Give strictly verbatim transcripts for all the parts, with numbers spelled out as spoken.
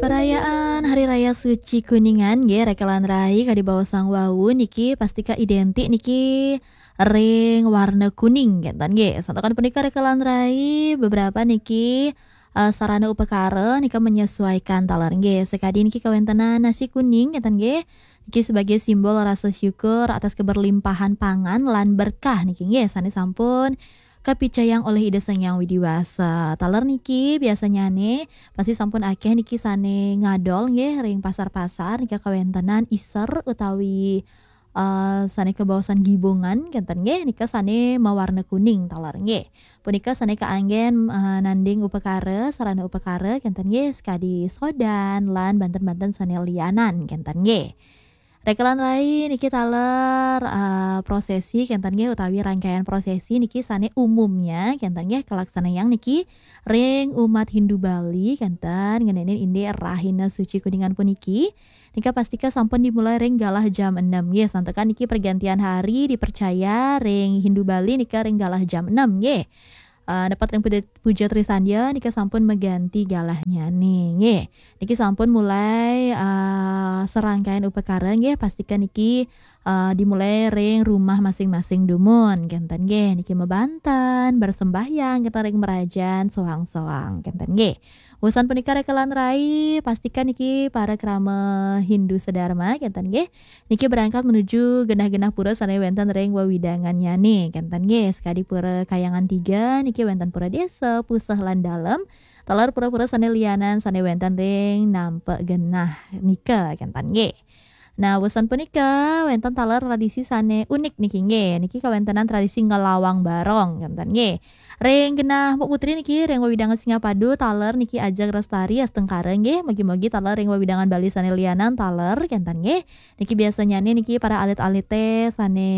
Perayaan Hari Raya Suci Kuningan nggih, rekelan rai kadi baosang wau niki pastika identik niki ring warna kuning, kenten nggih. Santukan punika rekelan rai beberapa niki, eh, sarana upakara nika menyesuaikan taler nggih. Sekadi niki kawentenan nasi kuning, kenten nggih. Niki sebagai simbol rasa syukur atas keberlimpahan pangan lan berkah niki nggih, sane sampun kapicayang oleh Ida Sang Hyang Widi Wasa. Taler niki biasanyane pasti sampun akeh niki sane ngadol nggih ring pasar-pasar nika kawentenan iser utawi, eh, sane kabaosan gibungan kenten nggih, nika sane mawarna kuning taler nggih. Punika sane kaanggen, eh, nanding upakara, sarana upakara kenten nggih, sekadi sodan lan banten-banten sane lianan kenten nggih. Rekelan rai niki taler, eh, prosesi kenten nggih utawi rangkaian prosesi niki sane umumnya kenten nggih kalaksanayang niki ring umat Hindu Bali kenten ngenenin indik Rahina Suci Kuningan puniki. Nika pastika sampun dimulai ring galah jam enam nggih. Santukan niki pergantian hari dipercaya ring Hindu Bali nika ring galah jam enam nggih. Eh, nepat ring puja, puja Trisandya nika sampun maganti galahnyane nggih. Niki sampun mulai, eh, serangkaian upakara nggih, pastika niki, eh, dimulai ring rumah masing-masing dumun kenten nggih. Niki mabanten, bersembahyang kenten ring merajan soang-soang kenten nggih. Wusan punika rekelan rai, pastika niki para krama Hindu sedharma kenten nggih. Niki berangkat menuju genah-genah pura sane wenten ring wewidangannyane kenten nggih. Sekadi pura Kayangan Tiga niki wenten pura desa, puseh lan dalem. Taler pura-pura sane lianan sane wenten ring nampek genah nika kenten nggih. Nah, wusan punika wenten taler tradisi sane unik niki nggih. Niki kawentenan tradisi ngelawang barong kenten nggih. Ring genah Mbok Putri niki ring wewidangan Singapadu taler niki ajeg lestari astungkara nggih. Mugi-mugi taler ring wewidangan Bali sane lianan taler kenten nggih. Niki biasanyane niki para alit-alite sane,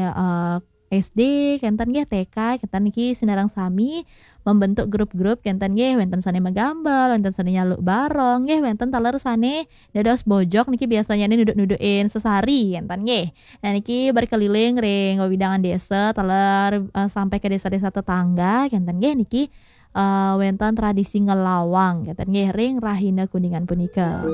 eh, S D kenten nggih, T K kenten niki sinareng sami membentuk grup-grup kenten nggih, wenten sane magambel, wenten sane nyaluk barong nggih, wenten taler sane dados bojog niki biasanyane nuduk-nudukin sesari kenten nggih. Nah, niki berkeliling ring wewidangan desa taler, eh, sampai ke desa-desa tetangga kenten nggih, niki, eh, wenten tradisi ngelawang kenten nggih ring Rahina Kuningan punika.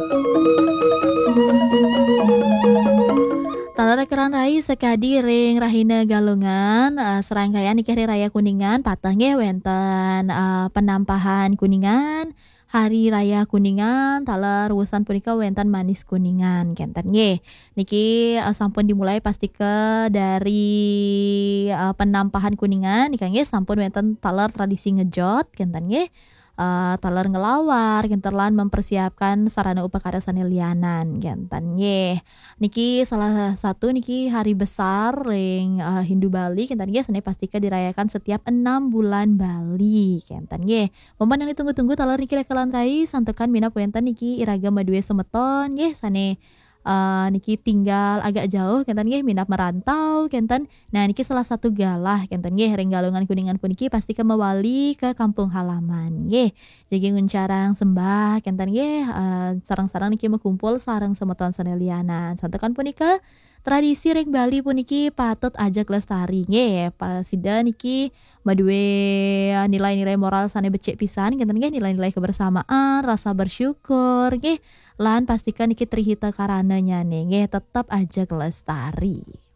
Taler rekelan rai, sekadi ring Rahina Galungan, eh, serangkaian niki Hari Raya Kuningan, pateh nggih wenten, eh, penampahan Kuningan, Hari Raya Kuningan, taler wusan punika wenten manis Kuningan kenten nggih. Niki, eh, sampun dimulai pastika dari, eh, penampahan Kuningan nika nggih, sampun wenten taler tradisi ngejot kenten nggih. Eh, taler ngelawar kenten lan mempersiapkan sarana upakara sane lianan kenten nggih. Niki salah satu niki hari besar ring, eh, Hindu Bali kenten nggih, sane pastika dirayakan setiap enam bulan Bali kenten nggih. Momen yang ditunggu-tunggu taler niki rekelan rai, santukan minab wenten niki iraga madue semeton nggih sane, eh, niki tinggal agak jauh kenten nggih, minab merantau kenten. Nah, niki salah satu galah kenten nggih ring Galungan Kuningan puniki pastika mawali ke kampung halaman nggih. Jagi nguncarang sembah kenten nggih, eh, sareng-sareng niki makumpul sareng semeton sane lianan. Santukan punika tradisi ring Bali puniki patut ajeg lestari nggih. Pasida niki madue, eh, nilai-nilai moral sane becik pisan kenten nggih, nilai-nilai kebersamaan, rasa bersyukur nggih. Lan pastika niki trihita karananyane nggih tetep ajeg lestari.